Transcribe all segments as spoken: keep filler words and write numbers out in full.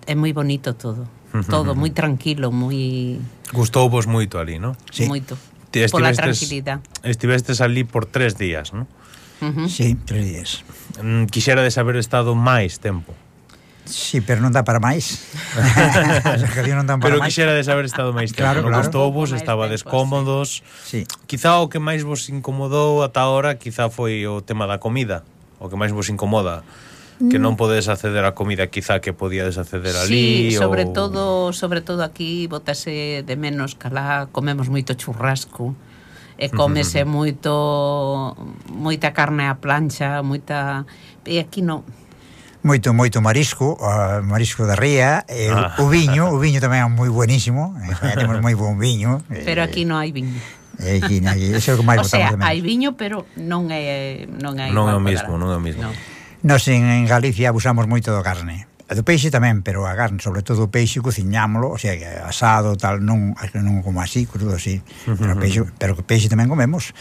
é moi bonito todo. Todo moi tranquilo, moi... Gustou vos moito ali, non? Sí. Moito. Pola tranquilidade. Estivestes ali por tres días, non? Uh -huh. Sí, tres días. Mm, quixerades haber estado máis tempo. Sí, pero non dá para máis. As vacacións non dan para pero máis. Pero quixerades haber estado máis tempo. Claro, non claro. Gustou vos, estaba descómodos. Sí. Quizá o que máis vos incomodou ata ahora quizá foi o tema da comida. O que máis vos incomoda. Que non podes acceder a comida quizá que podíades acceder ali. Sí, sobre ou... todo sobre todo aquí botase de menos calá, comemos moito churrasco e comese moito moita carne á plancha, moita, e aquí non. Moito, moito marisco, uh, marisco da ría, e ah. o viño, o viño tamén é moi buenísimo, temos moi bon viño. Pero aquí non hai viño. E aquí, aquí, eso é o que máis o sea, hai viño, pero non é non é non é o mesmo, non é o mesmo. No. Nos en, en Galicia abusamos moito do carne. E do peixe tamén, pero a carne, sobre todo o peixe, cociñámolo, o sea, que asado, tal, non, non como así, crudo así, uh -huh. pero peixe, pero peixe tamén comemos.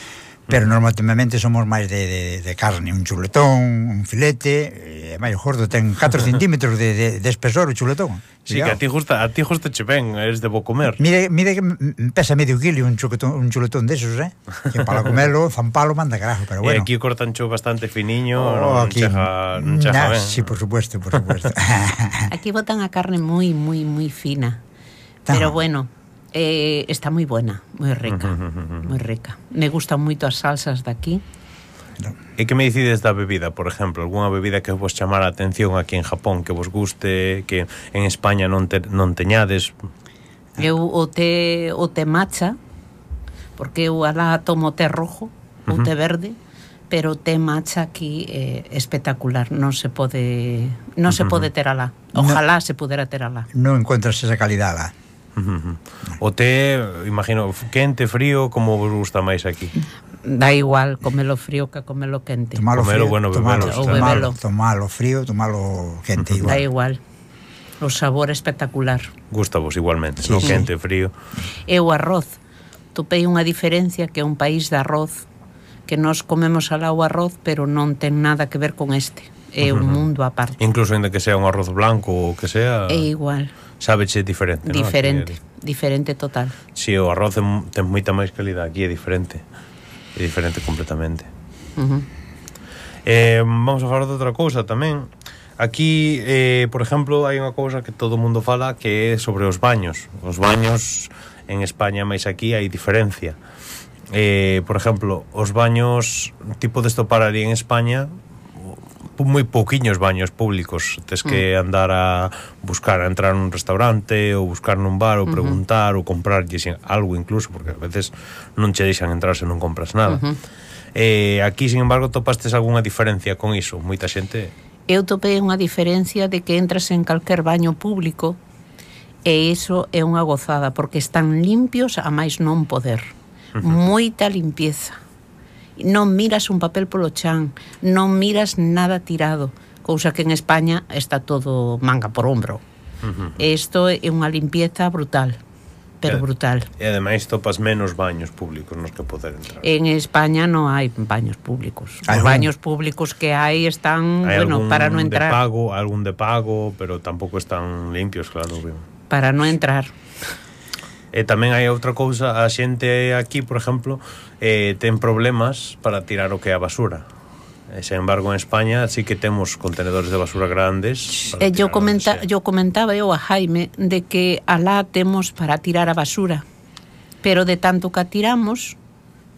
Pero normalmente somos máis de, de, de carne, un chuletón, un filete, e máis gordo, ten catro centímetros de, de, de espesor o chuletón. Sí, que a ti justa, a ti justa che ven, eres de bo comer. Mire, mire que pesa medio kilo un chuletón, un chuletón desos, eh? Que para comelo, zampalo, manda carajo, pero bueno. E aquí cortan cho bastante finiño, oh, non cheja, non cheja ben. Sí, por supuesto, por supuesto. Aquí botan a carne moi, moi, moi fina. Pero bueno, Eh, está moi buena, moi rica, moi rica. Me gustan moito as salsas daqui. E que me dicides da bebida, por exemplo? Alguna bebida que vos chamara a atención aquí en Japón, que vos guste, que en España non, te, non teñades? Eu o té, o té matcha, porque eu alá tomo té rojo, ou té verde, pero o té matcha aquí é eh, espectacular, non se pode non se pode ter alá. Ojalá no, se pudera ter alá. Non encontras esa calidad alá. Uh -huh. O té, imagino, quente, frío, como vos gusta máis aquí? Da igual, comelo frío que comelo quente. Tomalo comelo, frío, bueno, tomalo, bebelo, ou bebelo. Tomalo frío, tomalo quente, igual. Da igual. O sabor espectacular. Gusta vos igualmente, sí, no? Sí. Quente, frío. E o arroz, topei unha diferencia que é un país de arroz, que nós comemos alá o arroz, pero non ten nada que ver con este. É uh -huh. un mundo aparte. Incluso ainda que sea un arroz blanco ou que sea... É igual. Sábeche diferente, ¿no? Diferente, aquí, diferente total. Si, sí, o arroz ten moita máis calidad, aquí é diferente. É diferente completamente. Uh -huh. eh, vamos a falar de outra cousa tamén. Aquí, eh, por exemplo, hai unha cousa que todo o mundo fala, que é sobre os baños. Os baños en España, máis aquí, hai diferencia. Eh, por exemplo, os baños tipo de estopar ali en España, moi pouquiños baños públicos, tes que andar a buscar, a entrar nun restaurante ou buscar nun bar ou preguntar uh -huh. ou comprar algo incluso, porque a veces non che deixan entrar se non compras nada. Uh -huh. eh, aquí, sin embargo, topastes algunha diferencia con iso? Moita xente... Eu topei unha diferencia de que entras en calquer baño público e iso é unha gozada, porque están limpios a máis non poder. Uh -huh. Moita limpieza. Non miras un papel polo chan, non miras nada tirado, cousa que en España está todo manga por hombro. Uh -huh. Isto é unha limpieza brutal, pero e, brutal. E ademais topas menos baños públicos nos que poder entrar. En España non hai baños públicos. Os baños públicos que hai están, hai bueno, para non entrar. De pago, algún de pago, pero tampouco están limpios, claro. Para non entrar. E tamén hai outra cousa, a xente aquí, por exemplo, eh, ten problemas para tirar o que é a basura. E, sen embargo, en España sí que temos contenedores de basura grandes. E yo, comenta, yo comentaba eu a Jaime de que alá temos para tirar a basura, pero de tanto que a tiramos,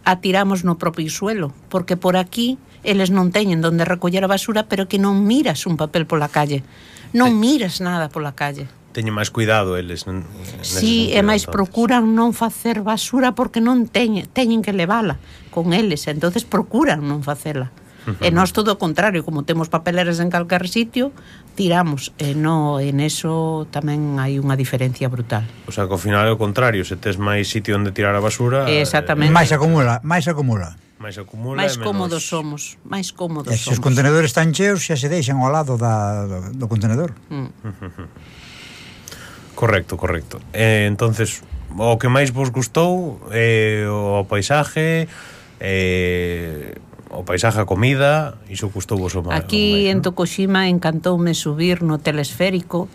a tiramos no propio suelo, porque por aquí eles non teñen donde recoller a basura, pero que non miras un papel pola calle, non miras nada pola calle. Teñen máis cuidado eles. Si, sí, e máis procuran non facer basura porque non teñen, teñen que levala con eles, entonces procuran non facela. Uh -huh. E nós todo o contrario, como temos papeleras en calquer sitio, tiramos, e no, en eso tamén hai unha diferencia brutal. O sea, que ao final é o contrario, se tes máis sitio onde tirar a basura... Exactamente. Eh, máis acumula, máis acumula. máis acumula máis e menos... cómodos somos, máis cómodos e somos. Se os contenedores están cheos, xa se deixan ao lado da, do, do contenedor. Mm. Correcto, correcto. Eh, entonces, o que máis vos gustou eh, o paisaje, eh, o paisaje, a comida, iso gustou vos o máis. Aquí o máis, en ¿no? Tokushima encantoume subir no telesférico,